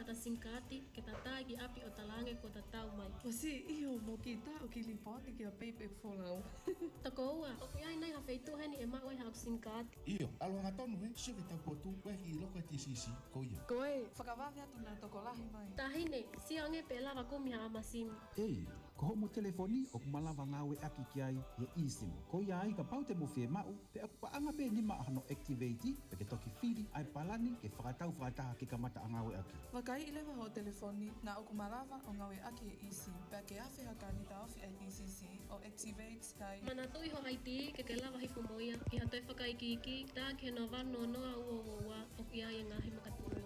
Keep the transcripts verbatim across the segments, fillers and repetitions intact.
Ata singkati, ke tatā ki ʻapi ʻo talaange kuo tatau mai. ʻOsi, ʻio, mo kita ʻoku lipooti kia Payback Folau. Toko ua, ʻoku ʻi ai nai ha feituʻu heni ʻe maʻu ai haʻaku singkati? ʻIo, ʻalu hangatonu ē, sio ki he taupotu, ʻoku ʻi loto e T C C, ko ia. Ko e, fakavave atu naʻa tokolahi mai. Taʻahine, sio ange pe ʻe lava kumi haʻama simi. ʻEi, ko hoʻomo telefoni ʻoku malava ngāueʻaki ki ai ʻe eSIM. Ko ia ai kapau te mo fiemaʻu, pea ʻoku paʻanga pē nima hono activate, pea ke toki fili ʻa e palani ke fakatau fakataha ke kamata ʻa ngāueʻaki. Vakaiʻi leva hoʻo telefoni naʻa ʻoku malava ʻo ngāueʻaki ʻe eSIM, pea ke afe ha kani taʻofi ʻa e T C C ʻo activate tai. Manatuʻi ho I D ke ke lava hifo mo ia, ʻi ha toe fakaikiiki, tā ki he noa valu noa noa ua ua ua, ʻoku ʻi ai e ngaahi makatuʻunga.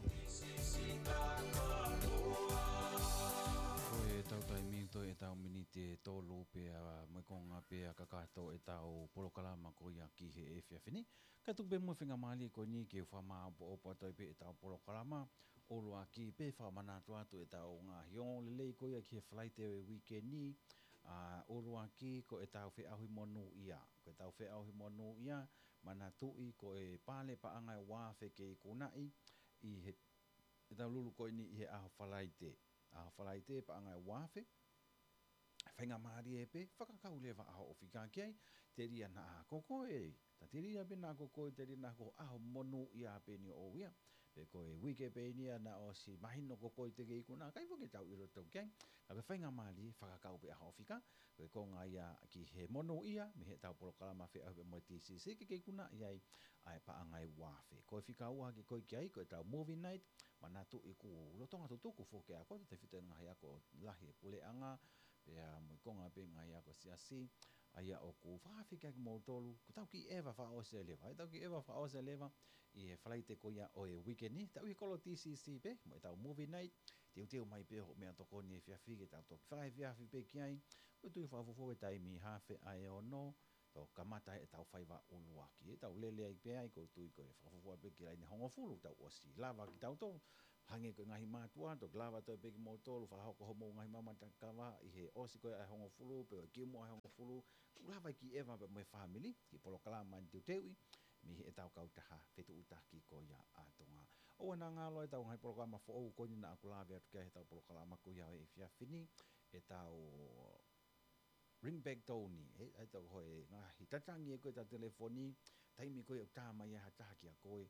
Ko e tau taimi toe ʻetau miniti ʻe tolu pea mo e konga pea kakato ʻetau polokalama ko ia ki he efiafi ni. Ka tuku pē mo e faingamālie ko eni ke u fakamāʻopoʻopo atu ai pē ʻetau polokalama ʻuluaki pea fakamanatu atu ʻetau ngaahi ongoongolelei ko ia ki he Falaite ʻo e uike ni, ʻa, ʻuluaki ko ʻetau feʻauhi monūʻia. Ko ʻetau feʻauhi monūʻia, manatuʻi ko e pale paʻanga ʻe ua afe ke ikunaʻi ʻi he, ʻetau lulu ko eni ʻi he ʻaho Falaite. ʻAho Falaite paʻanga ʻe ua afe. Faingamālie pē, fakakau leva ʻa hoʻo fika ki ai, telia naʻa ko koe, ta telia pē naʻa ko koe, telia naʻa ko e ʻaho monūʻia pē eni ʻoʻou ia. Pe ko e uike pē eni ia naʻe ʻosi mahino ko koe te ke ikuna, ʻikai foki ke tau ʻilo ʻe tautolu ki ai. Ka ko e faingamālie, fakakau pē ʻa hoʻo fika, ko e konga ia ki he monūʻia, mei heʻetau polokalama feʻauhi pea mo e T C C, ke ke ikunaʻi ai ʻa e paʻanga ʻe ua afe. Ko e fika ua ke ko ē ki ai, ko ʻetau movie night, manatuʻi kuo lolotonga tutuku foki ʻa e ako, tefito e ngaahi ako lahi ʻa e puleʻanga, pea mo e konga pē ngaahi ako siasi, ʻa ia ʻoku fakaafeʻi kimoutolu, ko ʻetau kiʻi ʻeva fakaʻosi leva, ʻetau kiʻi ʻeva fakaʻosi leva, ʻi he Falaite ko ia ʻo e uike ni, tau ʻi he kolo T C C pē, mo ʻetau movie night, teuteu mai pē hoʻo meʻatokoni efiafi ke tau toki fakaefiafi pē ki ai, ko e tui fakafuofua e taimi haafe ʻa e ono, toki kamata ʻetau faiva ʻuluaki. ʻEtau lele ai pē ai, ko e tui ko e fakafuofua pē ki he laine hongofulu, tau ʻosi lava kitautolu. Hangē ko e ngaahi mātuʻa, toki lava toe pē kimoutolu, fakahoko hoʻomou ngaahi mamatakava, ʻi he ʻosi ko ē ʻa e hongofulu, pe ko e kimuʻa ʻa e hongofulu, tau lava e kiʻi ʻeva pea mo e fāmili, ki he polokalama ni teuteuʻi, mei heʻetau kautaha fetuʻutaki ko ia ʻa Tonga. ʻOua naʻa ngalo ʻetau ngaahi polokalama foʻou ko eni naʻa ku lave atu ki ai heʻetau polokalama ko ia ʻo e efiafi ni, ʻetau ringback tone, ʻe, ʻe tau ko e ngaahi tatangi ʻe ko ē ʻetau telefoni, taimi ko ē ʻoku tā mai ai ha taha kia koe,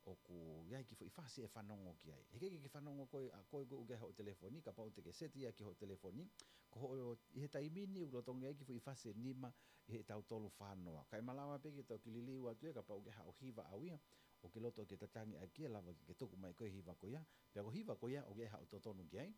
ʻoku ʻi ai e kiʻi foʻi fasi ʻe fanongo ki ai. He ʻikai ke ke fanongo koe, ʻa koe ko ē ʻoku ʻi ai hoʻo telefoni, kapau te ke seti ia ki hoʻo telefoni, ko hoʻo, ʻi he taimi ni ʻoku lolotonga ʻi ai e kiʻi foʻi fasi ʻe nima, ʻi heʻetau tolu fā noa. Kae malava pē ke toki liliu atu ia, kapau ʻoku ʻi ai haʻo hiva ʻau ia, ʻoku ke loto ke tatangi ʻaki ia, lava ke ke tuku mai ko ē e hiva ko ia, pea ko e hiva ko ia, ʻoku ʻi ai haʻo totonu ki ai,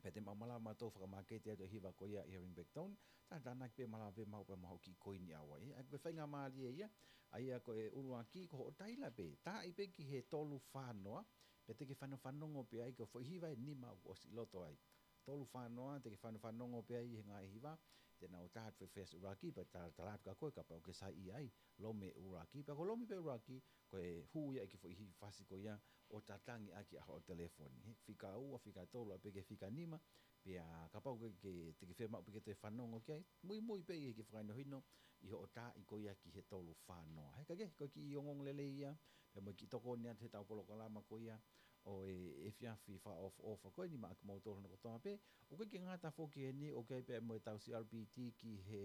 pea te mau malava mautolu fakamāketi atu e hiva ko ia ʻi he ringback tone, tā tānaki pē malava pē maʻu pē maʻu kiʻi koini ʻau ai. ʻA ia ko e faingamālie ia, ʻa ia ko e ʻuluaki, ko hoʻo taila pē, taaʻi pē ki he tolu fā noa, pea te ke fano-, fanongo pē ai ko e foʻi hiva ʻe nima ʻoku ʻosi ʻi loto ai. Tolu fā noa, te ke fano-, fanongo pē ai he ngaahi hiva, te nau tā atu e fasi ʻuluaki, pea tā-, tala atu kia koe, kapau ʻoku ke saiʻia ai, lomi ʻuluaki, pea ko e lomi pē ʻuluaki, ko e hū ia e kiʻi foʻi fasi ko ia ʻo tatangi ʻaki ʻa hoʻo telefoni. He fika ua, fika tolu, ʻa pē ki he fika nima, pea kapau ke, ke, te ke fiemaʻu pē ke toe fanongo ki ai, muimui pē ʻi he kiʻi fakahinohino ʻi hoʻo taaʻi ko ia ki he tolu fā noa. He ka ke, ko e kiʻi ongoongolelei ia, pea mo e kiʻi tokoni atu heʻetau polokalama ko ia ʻo e efiafi fakaʻofoʻofa ko eni maʻa kimoutolu hono kotoa pē, ʻoku ʻikai ke ngata foki heni, ʻoku ʻi ai pē mo ʻetau C R P T ki he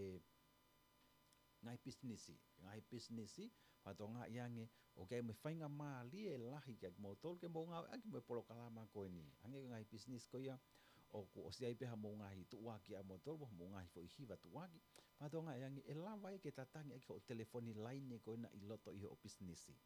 ngaahi pisinisi, ngaahi pisinisi, fakatokangaʻi ange, ʻoku ʻi ai mo e faingamālie lahi kia kimoutolu ke mou ngāueʻaki mo e polokalama ko eni. Hangē ko e ngaahi pisinisi ko ia, ʻoku ʻosi ʻi ai pē haʻamou ngaahi tuʻuaki ʻamoutolu, mo haʻamou ngaahi foʻi hiva tuʻuaki. Fakatokangaʻi ange, ʻe lava ia ke tatangi ʻaki hoʻo telefoni laine ko ena ʻi loto ʻi hoʻo pisinisi.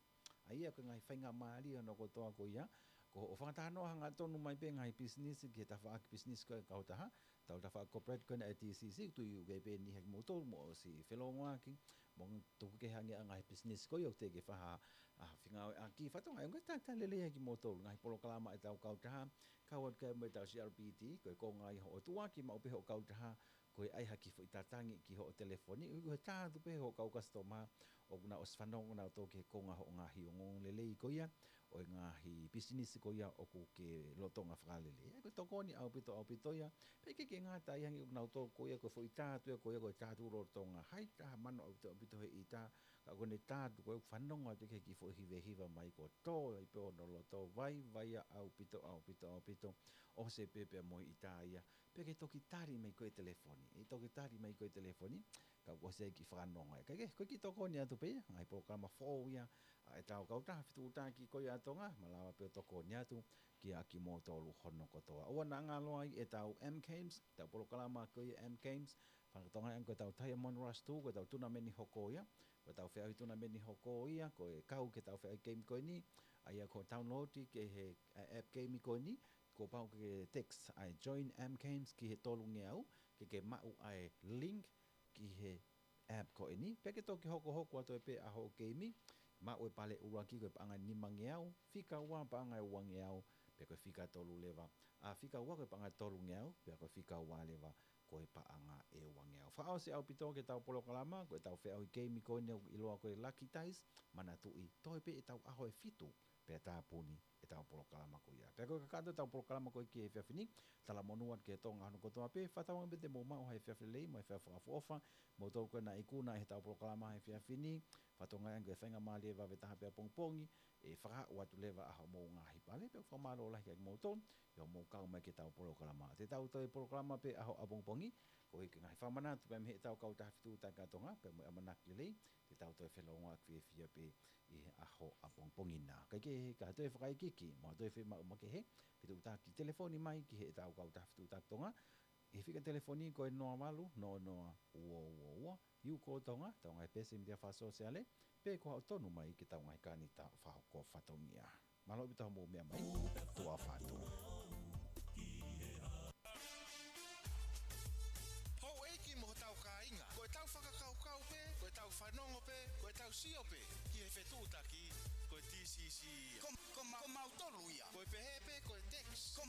ʻA ia ko e ngaahi faingamālie hono kotoa ko ia, ko hoʻo fakatalanoa hangatonu mai pē ngaahi pisinisi ki he tafaʻaki pisinisi ko ē ʻa e kautaha, ʻetau tafaʻaki corporate ko ena ʻa e T C C, tui ʻoku ʻi ai pē eni ha kimoutolu mo ʻosi felongoaki, mo tuku kehe ange ʻa e ngaahi pisinisi ko ia ʻoku teʻeki ke fai ha, ha fengāueʻaki, fakatokangaʻi ange ʻoku ʻikai ke tā, tā lelei ha kimoutolu, ngaahi polokalama ʻetau kautaha, kau atu ki ai mo ʻetau C R P T, ko e konga ia hoʻo tuʻuaki maʻu pē hoʻo kautaha, ko e ʻai ha kiʻi foʻi tatangi ki hoʻo telefoni, ʻoku ʻikai ke tā atu pē hoʻo kau customer, ʻoku nau ʻosi fanongo nautolu ki he konga hoʻo ngaahi ongoongolelei ko ia, ʻo e ngaahi pisinisi ko ia ʻoku ke lolotonga fakalele. Ko e tokoni ʻaupito, ʻaupito ia. Pea ʻikai ke ngata ai, hangē ko kinautolu ko ia ko e foʻi tā atu ia ko ia ko e tā atu lolotonga. Hai taha mano ʻaupito, ʻaupito he ʻita. Ka ko ʻene tā atu ko ia ʻoku fanongo atu ki he kiʻi foʻi hivehiva mai ko tō ai pē ʻo nau loto vaivai ʻaupito, ʻaupito, ʻaupito. ʻOsi pē pea mo e ʻita ia. Pea ke toki tali mai ko e telefoni. ʻE toki tali mai ko e telefoni. Ka ʻoku ʻosi ai e kiʻi fakanonga. Ka ke, ko e kiʻi tokoni atu pē ia, ngaahi polokalama foʻou ia ʻa ʻetau kautaha fetuʻutaki ko ia ʻa Tonga, malava pē ʻo tokoni atu kiate kimoutolu hono kotoa. ʻOua naʻa ngalo ai ʻetau M Games, ʻetau polokalama ko ia M Games, fakatokangaʻi ange ko ʻetau Diamond Rush two, ko ʻetau tunameni hoko ia, ko ʻetau feʻauhi tunameni hoko ia, ko e kau ki heʻetau feʻauhi game ko eni, ʻa ia ko e download ki he, ʻa, app game ko eni, kuo pau ke text ʻa e Join M Games ki he tolungeau, ke ke maʻu ʻa e link ki he app ko eni, pea ke toki hokohoko atu ai pē ʻa hoʻo keimi, maʻu e pale ʻuluaki ko e paʻanga nimangeau, fika ua paʻanga ʻe uangeau, pea ko e fika tolu leva, ʻa fika ua ko e paʻanga tolungeau, pea ko e fika ua leva ko e paʻanga ʻe uangeau. Fakaʻosi ʻaupito ki heʻetau polokalama, ko ʻetau feʻauhi keimi ko eni ʻoku ʻiloa ko e Lucky Dice, manatuʻi, toe pē ʻetau ʻaho ʻe fitu, pea tāpuni ʻetau polokalama ko ia. Pea ko e kakato ʻetau polokalama ko ia ki he efiafi ni, talamonū atu ki he Tonga hono kotoa pē, fakatauange pē te mou maʻu ha efiafi lelei, mo e efiafi fakaʻofoʻofa, moutolu ko ena ʻoku ikunaʻi heʻetau polokalama he efiafi ni, fakatokangaʻi ange ko e faingamālie vave taha pē ʻapongipongi, ʻe fakahū atu leva ʻa hoʻomou ngaahi pale, pea ʻoku fakamālō lahi kiate kimoutolu, ʻi hoʻomou kau mai ki heʻetau polokalama. Te tau toe polokalama pē ʻaho ʻapongipongi, koeʻuhi ko e ngaahi fakamanatu pē mei heʻetau kautaha fetuʻutaki ʻa Tonga, pea mo e ʻamanaki lelei, te tau toe felōngoaki fiefia pē ʻi he ʻaho ʻapongipongi na. Kae kehe, ka toe fakaikiiki, mo toe fiemaʻu makehe, fetuʻutaki telefoni mai ki heʻetau kautaha fetuʻutaki Tonga, ʻi he fika telefoni ko e noa valu, noa noa, ua ua ua, ʻi he ʻū ko Tonga, Tonga e pesi mita fakasōsiale, pe ko haʻo tonu mai ki heʻetau ngaahi kanita fakahoko fatongia. Mālō ʻaupito hoʻomou meʻa mai, tuʻa ʻofa atu. Houʻeiki mo hotau kāinga, ko ʻetau fakakaukau pē, ko ʻetau fanongo pē, ko ʻetau sio pē, ki he fetuʻutaki, ko e T C C. Ko, ko ma-, ko mautolu ia. Ko e pehē pē, ko e text. Ko